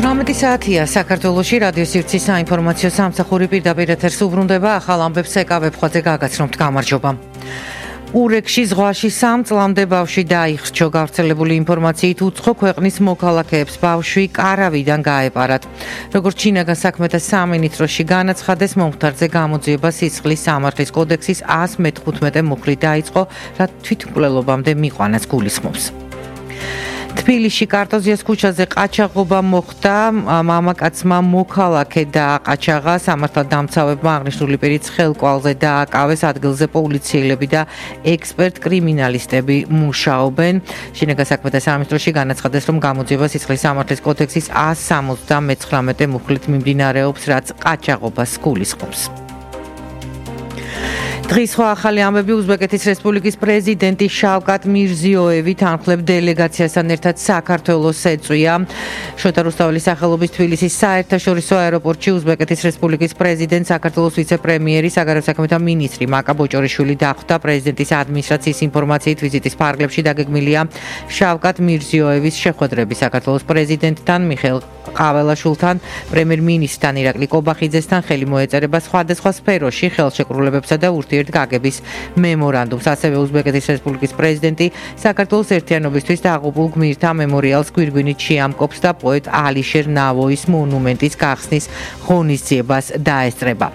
18 საათია საქართველოში რადიო სივრცის საინფორმაციო სამსახური პირდაპირ ეთერს უბრუნდება. ახალ ამბებს ეკავებხვაძე გაგაცნობთ. გამარჯობა. ურეკში ზღვაში 3 წლამდე ბავშვი დაიხრჩო. გავრცელებული ინფორმაციით უცხო ქვეყნის მოქალაქეებს ბავშვი კარავიდან გაეპარათ. როგორც ჩინაგან საქმეთა სამინისტროში განაცხადეს, მომხდარზე გამოძიება სისხლის სამართლის კოდექსის 115 მუხლით დაიწყო, რაც თვითმკვლელობამდე მიყვანას გულისხმობს. თბილისში კარტოზიას ქუჩაზე ყაჩაღობა მოხდა. მამაკაცმა მოქალაქე დააყაჩაღა. სამართალდამცავებმა აღნიშნული პირის ხელკვალზე დააკავეს. ადგილზე პოლიციელები და ექსპერტ კრიმინალისტები მუშაობენ. შინაგან საქმეთა სამინისტროში განაცხადეს, რომ გამოძიება სისხლის სამართლის კოდექსის 179 მუხლით მიმდინარეობს, რაც ყაჩაღობას გულისხმობს. დღის სხვა ახალი ამბები. უზბეკეთის რესპუბლიკის პრეზიდენტი შავკატ მირზიოევი თანხლებ დელეგაციასთან ერთად საქართველოს ეწვია. შოთა რუსთაველის სახელობის თბილისის საერთაშორისო აეროპორტში უზბეკეთის რესპუბლიკის პრეზიდენტ, საქართველოს ვიცე-პრემიერი, საგარეო საქმეთა მინისტრი მაკა ბოჭორიშვილი დახვდა. პრეზიდენტის ადმინისტრაციის ინფორმაციით ვიზიტის ფარგლებში დაგეგმილია შავკატ მირზიოევის შეხვედრები საქართველოს პრეზიდენტთან, მიხეილ ყაველაშვილთან, პრემიერ-მინისტრთან ირაკლი კობახიძესთან. ხელი მოეწერება სხვადასხვა სფეროში ხელშეკრულებებსა და გაგების მემორანდუმს. ასევე უზბეკეთის რესპუბლიკის პრეზიდენტი საქართველოს ერთიანობისთვის დაღუპულ გმირთა მემორიალს გვირგვინით შეამკობს და პოეტ ალიშერ ნავოის მონუმენტის გახსნის ღონისძიებას დაესწრება.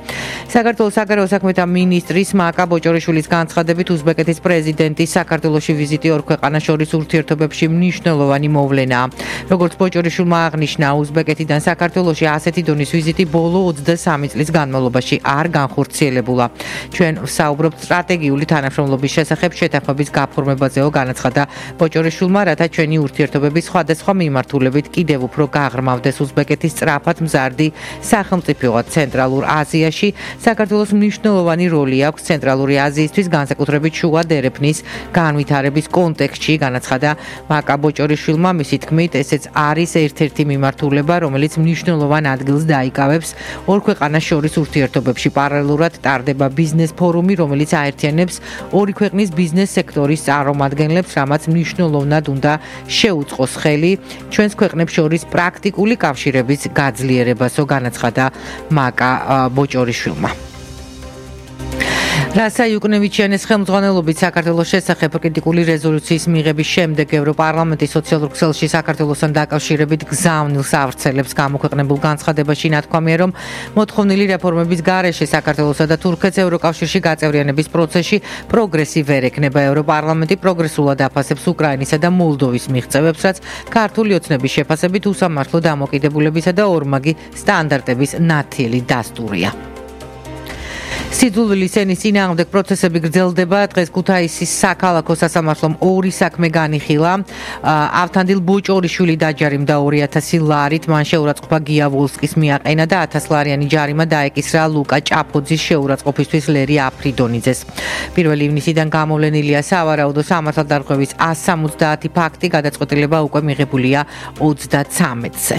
საქართველოს საგარეო საქმეთა მინისტრის მაკა ბოჭორიშვილის განცხადებით, უზბეკეთის პრეზიდენტის საქართველოში ვიზიტი ორ ქვეყანას შორის ურთიერთობებში მნიშვნელოვანი მოვლენაა. როგორც ბოჭორიშვილმა აღნიშნა, უზბეკეთიდან საქართველოში ასეთი დონის ვიზიტი ბოლო 23 წლის განმავლობაში არ განხორციელებულა. ჩვენ საუბრობთ სტრატეგიული თანამშრომლობის შესახებ შეთანხმების გაფორმებაზეო, განაცხადა ბოჭორიშვილმა, რათა ჩვენი ურთიერთობები სხვადასხვა მიმართულებით კიდევ უფრო გაღრმავდეს. უზბეკეთის სწრაფად მზარდი სახელმწიფოა ცენტრალურ აზიაში. საქართველოს მნიშვნელოვანი როლი აქვს ცენტრალური აზიისთვის, განსაკუთრებით შუა დერეფნის განვითარების კონტექსტში, განაცხადა მაკა ბოჭორიშვილმა. მისი თქმით, ესეც არის ერთ-ერთი მიმართულება, რომელიც მნიშვნელოვან ადგილს დაიკავებს ორ ქვეყანას შორის ურთიერთობებში. პარალელურად ტარდება ბიზნეს ფორუმი, რომელიც აერთიანებს ორი ქვეყნის ბიზნეს სექტორის წარმომადგენლებს, რამაც მნიშვნელოვნად უნდა შეუწყოს ხელი ჩვენს ქვეყნებს შორის პრაქტიკული კავშირების გაძლიერებასო, განაცხადა მაკა ბოჭორიშვილმა. რასა იუკნევიჩიანის ხელმძღვანელობით საქართველოს შესახებ კრიტიკული რეზოლუციის მიღების შემდეგ ევროპარლამენტის სოციალურ ქსელში საქართველოსთან დაკავშირებით გზავნილს ავრცელებს. გამოქვეყნებულ განცხადებაში ნათქვამია, რომ მოთხოვნილი რეფორმების გარეშე საქართველოსა და თურქეთს ევროკავშირში გაწევრიანების პროცესში პროგრესი ვერ ექნება. ევროპარლამენტი პროგრესულად აფასებს უკრაინისა და მოლდოვის მიღწევებს, რაც ქართული ოცნების შეფასებით უსამართლო დამოკიდებულებისა და ორმაგი სტანდარტების ნათელი დასტურია. სიძულვილის ენის წინააღმდეგ პროცესები გრძელდება. დღეს ქუთაისის საქალაქო სასამართლომ ორი საქმე განიხილა. ავთანდილ ბოჭორიშვილი დაჯარიმდა 2000 ლარით, მან შეურაცხყოფა გია ვოლსკის მიაყენა და 1000 ლარიანი ჯარიმა დაეკისრა ლუკა ჭაფოძის შეურაცხყოფისთვის ლერი აფრიდონიძეს. 1 ივნისიდან გამოვლენილია სავარაუდო სამართალდარღვევის 170 ფაქტი, გადაწყვეტილება უკვე მიღებულია 33-ზე.